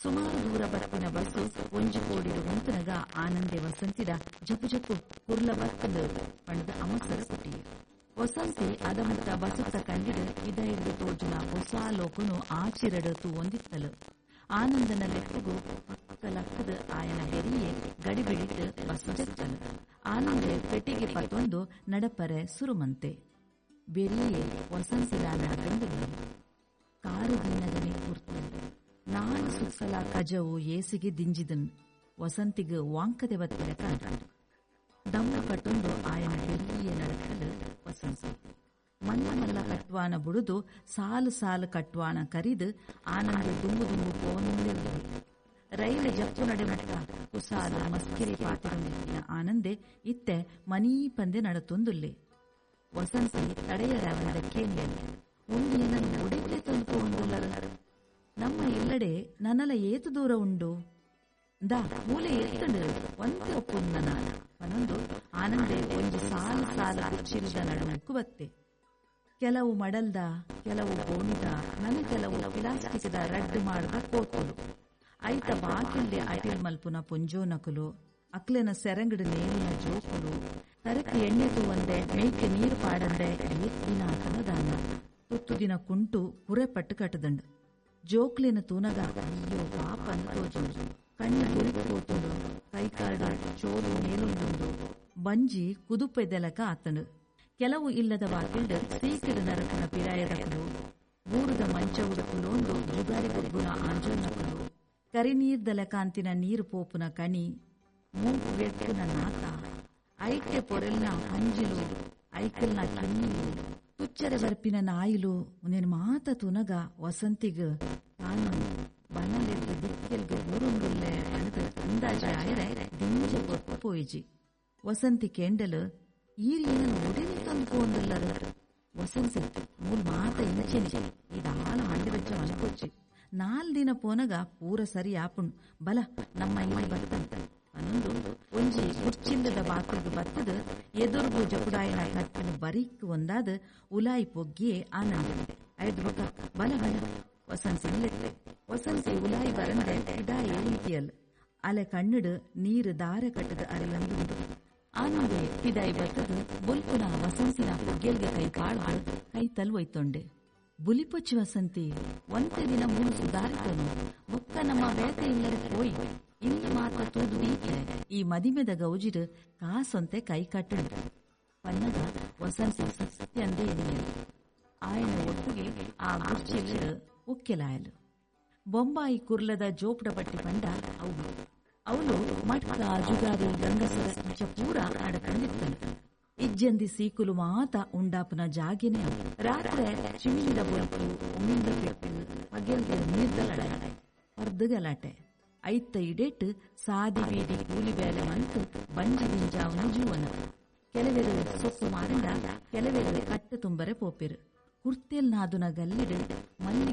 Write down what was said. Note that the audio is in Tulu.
ಸುಮಾರು ದೂರ ಬತ್ತಿನ ಬಸ್ಸು ಒಂಜಿ ಕೋಡಿಡು ಉಂತುನಗ ಆನಂದೆ ವಸಂತಿಡ ಜಪು ಜಪು ಕುರ್ಲ ಬತ್ತಂದು ಪಂಡದ ಅಮಸರ ಪುಟ್ಟಿಯೆ. ವಸಂತಿ ಅದಮುಟ್ಟ ಬಸುತ್ತ ಕಂಡಿಡು ಇದೈರ್ದು ತೋಜುನ ಹೊಸ ಲೋಕನು ಆಚಿರಡು ತೂವೊಂದಿತ್ತಲು. ಆನಂದನ ಲೆಪ್ಪುಗು ಪಕ್ಕ ಲಕ್ಕದ ಆಯನ ಬೆರಿಯೆ ಗಡಿಬಿಡಿಟ್ಟು ಬಸ್ಸು ಜತ್ತಲು. ಆನಂದೆ ಪೆಟ್ಟಿಗೆ ಪತ್ತೊಂದು ನಡಪರೆ ಸುರುಮಂತೆ. ಬೆರಿಯೆ ವಸಂತಿಲ ನಡತೊಂದುಲ್ಲಲು. ಕಾರು ದಿನ್ನಗನೆ ಕುರ್ತಲು. ನಾಲ್ ಸುತ್ತಲ ಕಜವು ಏಸಿಗೆ ದಿಂಜಿದನ್. ವಸಂತಿಗ್ ವಾಂಕದೆ ಬತ್ತಿನ ಕಾಂಡು. ದಮ್ಮ ಕಟ್ಟೊಂದು ಆಯನ ಬೆರಿಯೆ ನಡತಲು ವಸಂತಿ. ಮಲ್ಲ ಮಲ್ಲ ಕಟ್ವಾನ ಬುಡುದು ಸಾಲು ಸಾಲು ಕಟ್ವಾನ ಕರಿದು ಆನಂದ ದುಂಬು ದುಂಬು ಪೋವೊಂದಿಲ್ಲಲು. ರೈಲು ಜಪ್ಪು ನಡೆಮಟ್ಟ ಕುಸಾಲ ಮಸ್ಕಿರಿ ಪಾತೆರೊಂದಿತ್ತಿನ ಆನಂದೆ ಇತ್ತೆ ಮನೀ ಪಂದೆ ನಡತೊಂದುಲ್ಲೆ. ವಸಂತಿ ತಡೆಯರಾವಂದ ಕೇಂಡೆಲ್ ಉಂದು ಎನನ್ ಒಡೆಗೆ ತಂದು ಪೋವೊಂದುಲ್ಲರು. ನಮ್ಮ ಇಲ್ಲಡೆ ನನಲ ಏತು ದೂರ ಉಂಡು ದಾ ಮೂಲೆ ಎತ್ತಂಡು ಒಂತೆ ಒಪ್ಪುಂದ ನಾನ ಪನೊಂದು ಆನಂದೆ ಒಂಜಿ ಸಾಲು ಸಾಲು ಕುಚ್ಚಿಲ್ದ ನಡುಮುಕ್ಕು ಬತ್ತೆ. ಕೆಲವು ಮಡಲ್ದ, ಕೆಲವು ಗೋಣಿದ, ನನ ಕೆಲವು ಪ್ಲಾಸ್ಟಿಕ್ದ ರಡ್ಡು ಮಾಡದ ಕೋತುಲು. ಐತ ಬಾಕಿಲ್ಡೆ ಅಟಿಲ್ ಮಲ್ಪುನ ಪೊಂಜೋನಕುಲು, ಅಕ್ಲೆನ ಸೆರಂಗಡು ನೇಲಿನ ಜೋಕುಲು, ತರಕ್ ಎಣ್ಣೆ ತೂವಂದೆ ಮೇಯ್ಕೆ ನೀರು ಪಾಡಂದೆ ಏತ್ ದಿನ ಆತನ ದಾನ. ತುತ್ತು ದಿನ ಕುಂಟು ಕುರೆ ಪಟ್ಟು ಕಟ್ಟದಂಡು. ಜೋಕ್ಲೆನ ತೂನಗ ಅಯ್ಯೋ ಪಾಪ ಅಂದ್ ತೋಜುಂಡು. ಕಣ್ಣು ಗುರಿ ಪೋತುಂಡು, ಕೈಕಾರ್ಡ್ ಚೋಲು ನೇಲೊಂದುಂಡು, ಬಂಜಿ ಕುದುಪೆದೆಲಕ ಆತಂಡು. ಕೆಲವು ಇಲ್ಲದ ಬಾಕಿಲ್ಡ್ ಸೀಕಿಡ್ ನರಕುನ ಪಿರಾಯದಕುಲು, ಬೂರುದ ಮಂಚವುಡು ಕುಲೋಂದು ಜುಗಾರಿ ಗೊಬ್ಬುನ ಆಂಜೋನಕುಲು, ಕರಿನೀರ್ದಲಕಾಂತಿನ ನೀರು ಪೋಪುನ ಕಣಿ, ಮೂಂಕು ಗೆಟ್ಟುನ ನಾತ, ಐಕೆ ಪೊರೆಲ್ನ ಅಂಜಿಲು, ಐಕಲ್ನ ಕಿನ್ನಿಲು, ತುಚ್ಚರೆ ಬರ್ಪಿನ ನಾಯಿಲು ಉಂದೆನ್ ಮಾತ ತೂನಗ ವಸಂತಿಗ್ ತಾನು ಬನಲೆದ್ದು ದಿಕ್ಕೆಲ್ಗ್ ಬೂರೊಂದುಲ್ಲೆ ಪಂಡ್ದ್ ಅಂದಾಜಿ ಆಯೆರೆ ದಿಂಜ ಪೊರ್ತು ಪೋಯಿಜಿ. ವಸಂತಿ ಕೇಂಡಲ್, ಈರ್ ಎನನ್ ಒಡೆನೆ ತಂದು ಪೋವೊಂದುಲ್ಲರ್? ವಸಂತಿ ಮೂಲ್ ಮಾತ ಇಂಚೆನೆ, ಈ ದಾಲ ಮಂಡೆ ಬೆಚ್ಚ ಮನ್ಪೊಚ್ಚಿ. ನಾಲ್ ದಿನ ಪೋನಗ ಪೂರ ಸರಿ ಆಪುಂಡು, ಬಲ ನಮ್ಮ ಇಲ್ಲ್ ಬತ್ತಂತ ಪನೊಂದು ಒಂಜಿ ಕುರ್ಚಿಲ್ಲದ ಬಾಕಿಲ್ಗ್ ಬತ್ತದ್ ಎದುರುಗು ಜಪುಡಾಯಿನ ಕಟ್ಟನ್ ಬರಿಕ್ ಒಂದಾದ್ ಉಲಾಯಿ ಪೊಗ್ಗಿಯೆ ಆನಂದೆ. ಐಡ್ದ್ ಬೊಕ ಬಲ ಬಲ ವಸಂತಿನ್ ಲೆತ್ತೆ. ವಸಂತಿ ಉಲಾಯಿ ಬರಂದೆ ಪಿದಾಯಿ ಉಂತಿಯಲ್. ಅಲೆ ಕಣ್ಣುಡು ನೀರು ದಾರೆ ಕಟ್ಟುದು ಅರಿಯೊಂದುಂಡು. ಆನಂದೆ ಪಿದಾಯಿ ಬತ್ತದ್ ಬೊಲ್ಪುನ ವಸಂತಿನ ಪುಗ್ಗೆಲ್ಗೆ ಕೈ ಪಾಡ್ದ್ ಕೈತಲ್ ಒಯ್ತೊಂಡೆ. ಬುಲಿಪೊಚ್ಚಿ ವಸಂತಿ, ಒಂತೆ ದಿನ ಮೂಲು ಸುದಾರಿತೊನು, ಬೊಕ್ಕ ನಮ್ಮ ಬೇತೆ ಇಲ್ಲಡೆ ಪೋಯಿ. ಇಲ್ಲ್ ಮಾತ ತೂದು ದೀಪೆ. ಈ ಮದಿಮೆದ ಗೌಜಿಡ್ ಕಾಸೊಂತೆ ಕೈ ಕಟ್ಟುಂಡು ಪನ್ನಗ ವಸಂತಿ ಸತ್ಯಂದೆ ಎನ್ನಿಯಲ್. ಆಯನ ಒಟ್ಟುಗೆ ಆ ಗುರ್ಚಿಲ್ಡ್ ಒಕ್ಕೆಲಾಯಲು. ಬೊಂಬಾಯಿ ಕುರ್ಲದ ಜೋಪುಡ ಪಟ್ಟಿ ಪಂಡ ಅವು. ಅವಳು ಮಟ್ಕ ಜುಗಾರಿ ಗಂಗಸರ ಇಂಚ ಪೂರ ನಡತೊಂದಿತ್ತಲು. ಇಜ್ಜಂದಿ ಸೀಕುಲು ಮಾತ ಉಂಡಾಪುನ ಜಾಗೆನೆ ಅವು. ರಾತ್ರೆ ಚಿಮಿನಿದ ಬೊಲ್ಪು, ಉಮಿಲ್ದ ಪೆಟ್ಟು, ಪಗೆಲ್ದ ನೀರ್ದ ಲಡಾಯಿ, ಪರ್ದ್ ಗಲಾಟೆ. ಐತ ಇಡೆಟ್ ಸಾದಿ ಬೀದಿ ಕೂಲಿ ಬೇಲೆ ಮಂತ್ ಬಂಜಿ ದಿಂಜಾವುನ ಜೀವನ. ಕೆಲವೆರು ಸೊಪ್ಪು ಮಾರಿಂಡ ಕೆಲವೆರು ಕಟ್ಟು ತುಂಬರೆ ಪೋಪೆರು. ಕುರ್ತೆಲ್ ನಾದುನ ಗಲ್ಲಿಡ್ ಮಲ್ಲಿಗೆ